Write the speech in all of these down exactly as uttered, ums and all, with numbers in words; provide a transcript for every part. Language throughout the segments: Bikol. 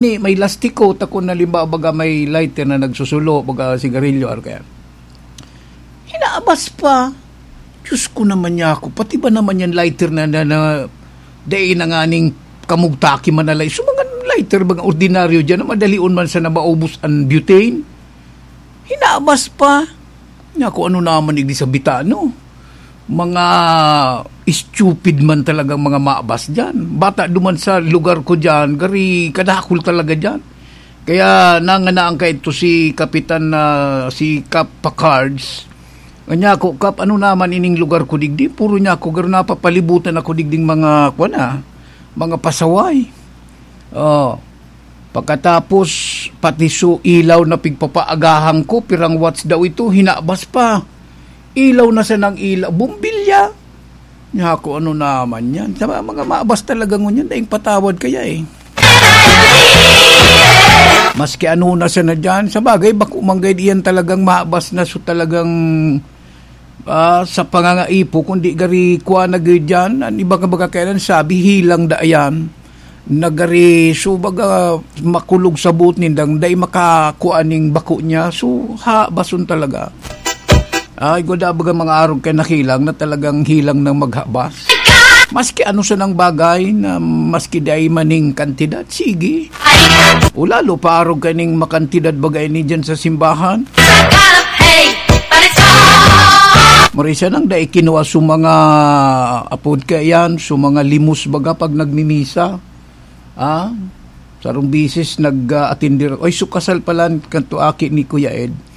Ni, may lastiko, ta kun halimbawa, baga may lighter na nagsusulo, baga sigarilyo, or kaya, hinabas pa. Diyos ko naman niya ako, pati ba naman yan lighter na, na, na, dai na nga ning kamugtaki manalay. So, mga lighter, mga ordinaryo dyan, na madalion man sa nabaubos ang butane. Hinabas pa. Nga kung ano naman igdi sa bitano. Mga stupid man talagang mga mabas dyan. Bata duman sa lugar ko dyan, gari kadakul talaga dyan. Kaya nanganaan ka ito si Kapitan na si Kap Pacards. Anya ko, "Kap, ano naman ining lugar ko digdi? Puro niya ako, garo napapalibutan ako digding mga, kuwan na, mga pasaway." Oh. Pagkatapos, pati su ilaw na pigpapaagahan ko, pirang watts daw ito, hinabas pa. Ilaw na sanang ilaw, bumbilya. Nya ako, ano naman yan? Sa mga mabas talaga ngunyan, daing patawad kaya eh. Maski ano na sana dyan, sa bagay, bako manggay iyan talagang mabas na, so talagang, ah, sa pangangaipo, kundi gari kuha na gid dyan, ang iba ka baga kaya sabi, hilang da yan. Nagari, so baga, makulog sa buot nindang, dai makakua ning bako niya, so ha, bason talaga. Ay, guda baga mga arog kay nakilang na talagang hilang ng maghabas. Maski ano sanang bagay na maski dai maning kantidad, sige. O lalo pa arog kaning makantidad bagay ni dyan sa simbahan. Marisa nang dai kinuha sa mga apod ka yan, sa mga limos baga pag nagmimisa. Ah, sarong bisis nag-atender ako. Ay, so kasal pala kanto aki ni Kuya Ed.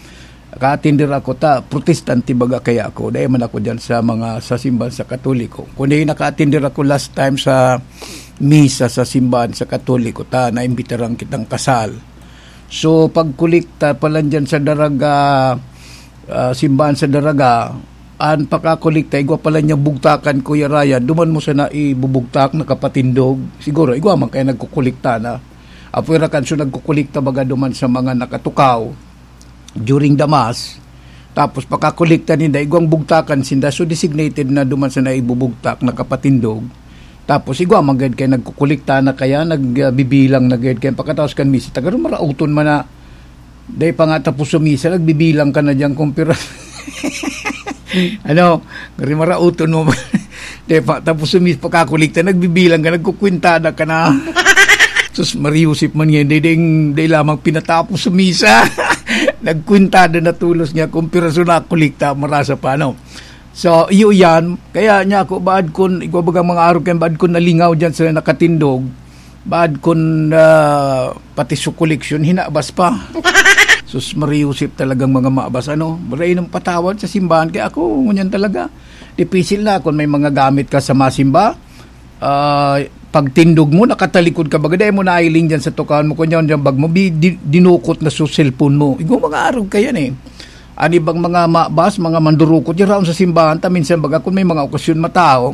Naka-atender ako ta, protestante baga kaya ako. Dahil man ako dyan sa mga, sa simbahan sa Katoliko. Kundi naka-atender ako last time sa misa sa simbahan sa Katoliko ta, naimbitaran kitang kasal. So, pagkolekta pala dyan sa Daraga, ah, simbahan sa Daraga, an pakakolekta, igwa pala niya bugtakan, Kuya Ryan, duman mo sana ibubugtak, nakapatindog. Siguro, igwa man kaya nagkukolekta na. Apoy rakan, so nagkukolekta baga duman sa mga nakatukaw during the mass. Tapos, pakakolekta ninda, igwang bugtakan sinda. So, designated na duman sana ibubugtak, nakapatindog. Tapos, igwa man gayud kaya nagkukolekta na kaya, nagbibilang na gayud kaya. Pagkatapos kan misa, taga marauton man na, dai pa nga tapos sa misa, nagbibilang ka na diyan kung pira. Ano, gari marauton mo. Dai pa tapos sa misa, pagkakolekta, nagbibilang ka, nagkukwintada ka na. Sus, Maria Josep man ngayon, dai, dai, dai lamang pinatapos sa misa. Nagkwintada na tulos niya kung piraso na kolekta, marasa pa, ano. So, iyo yan. Kaya niya ako, baad kun, ikaw bagang mga araw kayo, baad kun nalingaw dyan sa nakatindog, baad kun, ah, pati su koleksyon, hinabas pa. Sus, Maria Josep talagang mga maabas, ano? Maray ng patawad sa simbahan. Kaya ako, ngunyan talaga. Dipisil na kung may mga gamit ka sa masimba. Ah, pagtindog mo, nakatalikod ka, baga dai mo nailing dyan sa tukawan mo, kunya dyan bag mo, bi-, di-, dinukot na sa cellphone mo. Igwa mga arog ka yan eh. An ibang mga mabas, mga mandurukot, yan raon sa simbahan, ta minsan baga kung may mga okasyon matao,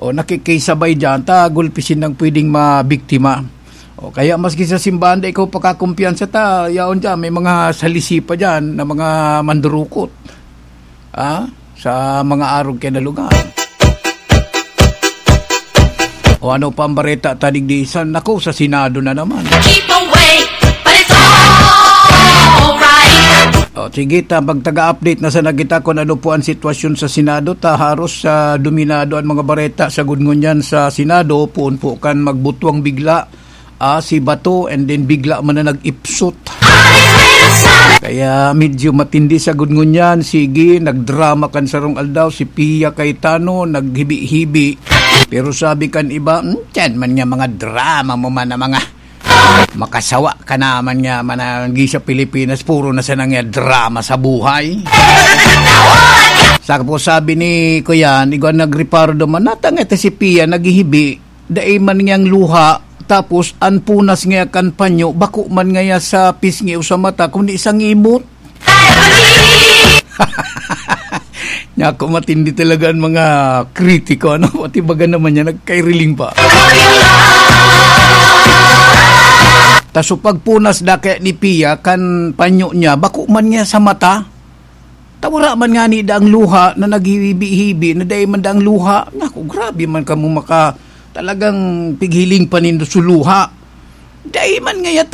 o nakikisabay dyan, ta gulpisin ng pwedeng mabiktima. O kaya maski sa simbahan, da ikaw pakakumpiyansa ta, yaon dyan, may mga salisi pa dyan na mga mandurukot. Ah, sa mga arog kaya na lugar. O ano pa ang bareta ta digdi? Sa, naku, sa Senado na naman. Keep away, but it's alright. O, sige ta, magtaga-update na sana kita kung ano po ang sitwasyon sa Senado. Ta, haros, ah, dominado ang mga bareta sa gudngon yan sa Senado. Puon po kan magbutwang bigla, ah, si Bato, and then bigla man na nag-ipsot. Kaya medyo matindi sa gudngon yan. Sige, nagdrama kan sarong aldaw si Pia Cayetano, naghibi-hibi. Pero sabi kan iba, "Hmm, yan man nga mga drama mo man na mga makasawa ka naman nga mananggi sa Pilipinas, puro na sana nga drama sa buhay." Sa po sabi ni Kuya, igwa nagreparo duman, natangete si Pia, naghihibi, dai man niyang luha, tapos an punas niya kan panyo, bako man ngaya sa pisngi o sa mata, kundi sa ngimot. Naku, matindi talaga ang mga kritiko, ano? Pati baga naman niya, nagkairiling pa. Ta so pagpunas da kaya ni Pia, kan panyo niya, bako man niya sa mata. Ta wara man ngani daang luha na naghihibi-hibi na dai man daang luha. Naku, grabe man kamo maka-, talagang pighiling pa nindo sa luha. Dai man ngaya